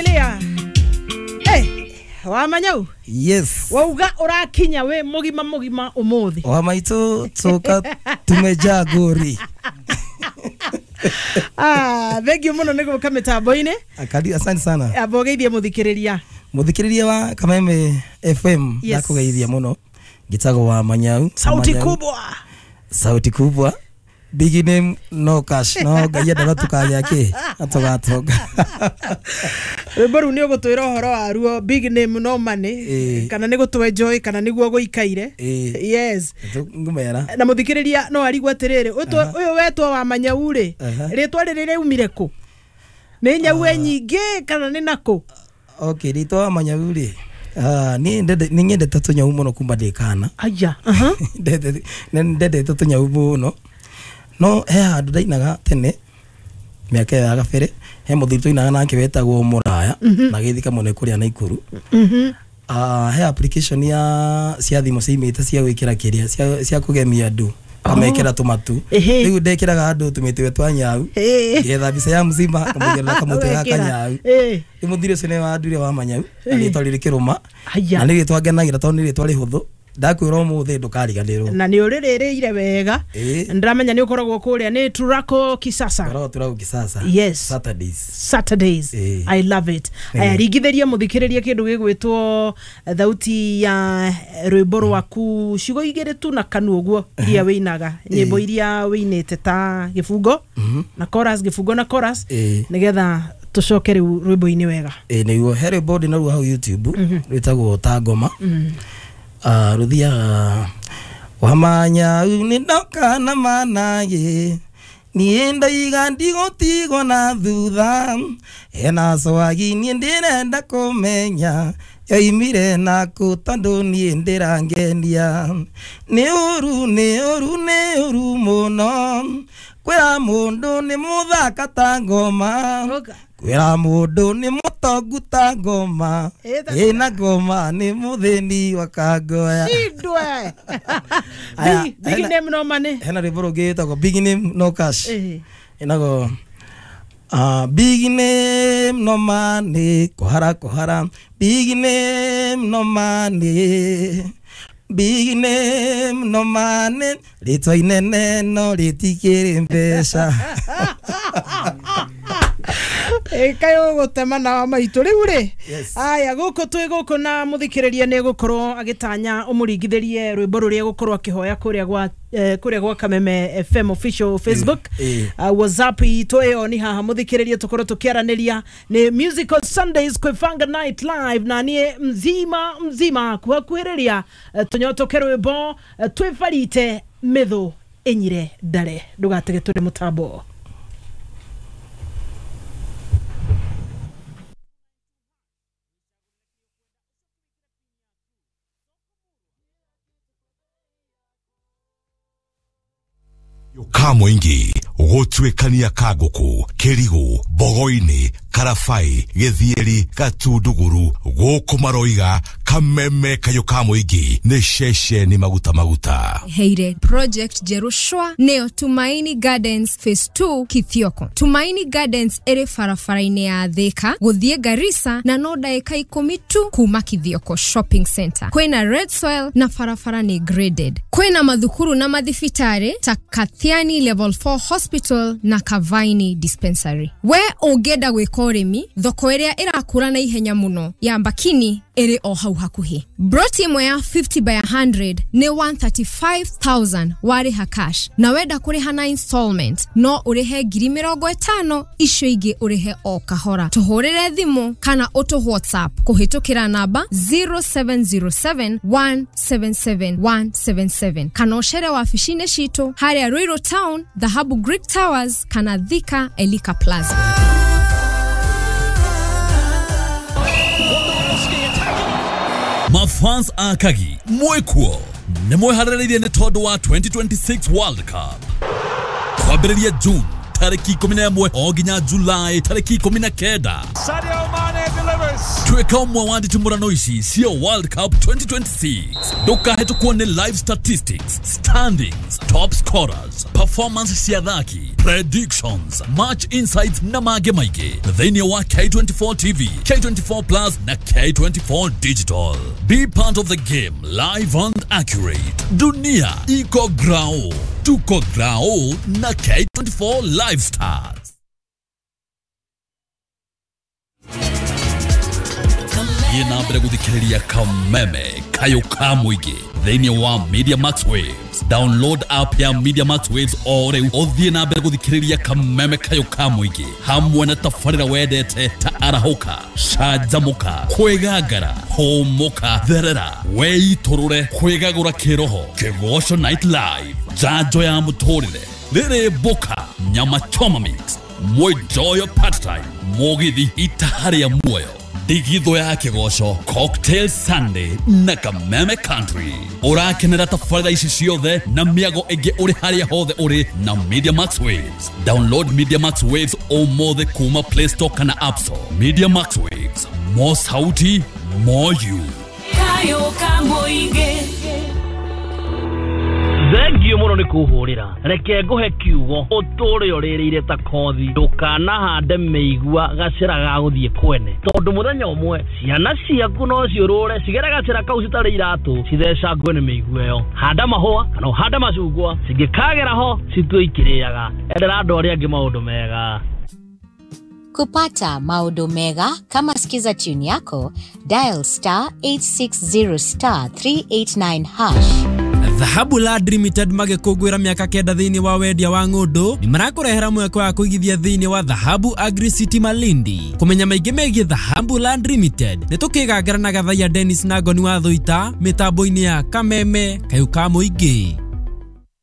Lia. Hey, Wamanyau. Yes. Wauga urakinya we mugima mugima umuthi. Wa maitu tuka tumejaa gori. Ah, thank you muno niguka mitambo-ini. Akali asante sana. Abogeithie muthikiriria. Muthikiriria wa Kameme FM Yes. Ndakugeithia muno. Ngitagwo Wamanyau. Sauti kubwa. Sauti kubwa. Big name no cash no ngai enda tukagĩa kĩ atugatonga. Rwĩmbo rũu nĩ ũgũtwĩra ũhoro waruo big name no money kana nĩ gũtũ enjoy kana nĩguo gũikaire. Yes. Ngũmera. Na mũthikĩrĩria no arigwo atĩrĩrĩ ũyũ wetwo Wamanyau rĩ rĩtwa rĩrĩ rĩumire kũ? Nĩ nyau e nyingĩ kana nĩ nakũ? Okay, rĩtwa Wamanyau rĩ niĩ nĩ nyendete tũnyau mũno kuma ndĩ kana. Aya. Ndendete tũnyau mũno. No he handũ ndainaga tene mĩaka ya gabere he mũthuri tũinaga nake wetagwo Mũraya na gĩthika mũno kũrĩa Naikuru. He application ya cia thimũ ciimĩte cia gwĩkĩra kĩrĩa cia kũgemia andũ kamekĩra tũmatu rĩu ndekĩraga andũ tũmĩtwe twa nyau ngetha mbica ya mzima kamũgerera kamũtwe gaka nyau rĩu mũthuri ũcio nĩwe wandure Wamanyau na rĩtwa rĩrĩ kĩrũma na nĩ rĩtwa ngenagĩra tondũ nĩ rĩtwa rĩhũthũ ndakwĩra ũmũthĩ ndũkariganĩrwo na nĩ ũrĩrĩrĩire wega ndĩramenya nĩ ũkoragwo kũrĩa nĩ Turako Kisasa. Koragwo Turako Kisasa. Yes. Saturdays. I love it. Aya ringithĩria mũthikĩrĩria kĩndũ gĩgwĩtwo thauti ya rwĩmbo rwaku ciugo igĩrĩ tu na kanua ũguo iria wĩinaga nyĩmbo iria wĩinĩte ta gĩbungo na chorus gĩbungo na chorus nĩgetha tũcoke rĩu rwĩmbo-inĩ wega. Nĩguo he rwĩmbo ndĩnaruo hau YouTube rwĩtagwo ta ngoma. Ruthiaga Wamanyau nĩ ndoka na managĩ niĩ ndaiga ndigũtigwo na thutha hena swagi niĩ ndĩrenda kũmenya yoimire nakũ tondũ niĩ ndĩrangenia nĩ ũru nĩ ũru nĩ ũru mũno kwĩra mũndũ nĩ mũthaka ta ngoma kwĩra mũndũ nĩ mũtongu ta ngoma ĩna ngoma nĩ mũthĩni wa kangoya. Shindwe. Big name no money. Hena rwĩmbo rũngĩ rwĩtagwo big name no cash. Ĩnago big name no money kũhara kũhara big name no money big name no money rĩtwa inene no rĩtikĩrĩ mbeca. Kayo gũtema na wa maitũ rĩu rĩ. Aya gũkũ twĩ gũkũ na mũthikĩrĩria nĩ gũkorwo agĩtanya ũmũringithĩrie rwĩmbo rũrĩa gũkorwo akĩhoya kũrĩa gwa Kameme FM official Facebook. WhatsApp itũ ĩyo nĩ haha mũthikĩrĩria tũkorwo tũkĩaranĩria nĩ Musical Sundays Kwĩbanga Night Live na niĩ mzima mzima kuhakuhĩrĩria tũnyotoke rwĩmbo twĩbarite mĩthũ ĩnyire ndare ndũgatege tũrĩ mũtambo. Kamũingĩ gũtuĩkania Kangũkũ, Kĩrigũ, Bogoinĩ, Karabai, Gĩthieri, Gatunduguru, gũkũ maroiga Kameme kayũ ka mũingĩ nĩ ceceni maguta maguta. Heire project Jerushwa neo Tumaini Gardens Phase 2 Kithioko. Tumaini Gardens ĩrĩ barabara-inĩ ya Thika gũthiĩ Garissa na no ndagĩka 10 tu kuma Kithioko Shopping Center. Kwĩna red soil na barabara nĩ graded. Kwĩna mathukuru na mathibitarĩ ta Kathiani Level 4 Hospital na Kavaini Dispensary. We ũngĩenda gwĩka ũrĩmi thoko ĩrĩa ĩrakũra na ihenya mũno ya Mbakini ĩrĩ o hau hakuhĩ. Broti ĩmwe ya 50 by 100 nĩ 135,000 warĩha cash na wenda kũrĩha na installment no ũrĩhe 50,000 icio ingĩ ũrĩhe o kahora. Tũhũrĩre thimũ kana ũtũ WhatsApp kũhĩtũkĩra namba 0707 177 177 kana ũcere wabici-inĩ citũ harĩa Ruiru Town, Dhahabu Greek Towers kana Thika Elika Plaza. Mafans akagi mwekuo nĩ mweharĩrĩirie nĩ tondũ wa 2026 World Cup kwambĩrĩria June tarĩki 11 o nginya July tarĩki 19. Sadio Mane delivers. Tuĩka ũmwe wa nditimũrano ici cia World Cup 2026. Ndũkahĩtũkwo nĩ live statistics, standings, top scorers, performance cia athaki, predictions, match insights na mangĩ maingĩ thĩinĩ wa K24 TV, K24 Plus na K24 Digital. Be part of the game live and accurate. Dunia iko grao, tuko grao na K24 Live Stars. Thiĩ na mbere gũthikĩrĩria Kameme Kayũ ka mũingĩ thĩinĩ wa Media Max Waves. Download app ya Media Max Waves o rĩu ũthiĩ na mbere gũthikĩrĩria Kameme Kayũ ka mũingĩ hamwe na tabarĩra wendete ta arahũka, canjamũka, kwĩgangara, hũmũka, therera, weitũrũre, kwĩgagũra kĩroho, Kĩgoco Night Live, njanjo ya mũtũrĩre, rĩrĩ mboka, nyama choma mix, mwenjoyo part time, mũgithi itaha rĩa muoyo, ndigithũ ya kĩgoco, Cocktail Sunday na Kameme Country. Ũrakenera tabarĩra ici ciothe na mĩago ĩngĩ ũrĩ harĩa hothe ũrĩ na Media Max Waves. Download Media Max Waves ũmũthĩ kuma Play Store kana App Store. Media Max Waves, more sauti, more you. Kayo ka mũingĩ. Thengio mũno nĩ kũhũrĩra. Reke ngũhe kiugo ũtũre ũrĩrĩire ta kothi. Ndũkanahande mĩigua gacĩra ga gũthiĩ kwene, tondũ mũthenya ũmwe ciana ciaku no ciũrũre cigere gacĩra kau citarĩ iratũ, cithecangwe nĩ mĩigua ĩyo. Handa mahũa kana ũhande macungwa, cingĩkagera ho citue ikĩrĩaga. Endera andũ arĩa angĩ maũndũ mega. Kupata maodo mega kama Skiza tune yako, dial star 860 star 389 hash. Dhahabu Land Limited magĩkũngũĩra mĩaka 9 thĩinĩ wa wendia wa ng'ũndũ nĩ marakũrehera mweke wa kũigithia thĩinĩ wa Dhahabu Agri City Malindi. Kũmenya maingĩ megiĩ Dhahabu Land Limited nĩ tũkĩgangara na Gathaiya Dennis na Ngoni wa Thũita mĩtambo-inĩ ya Kameme Kayũ ka mũingĩ.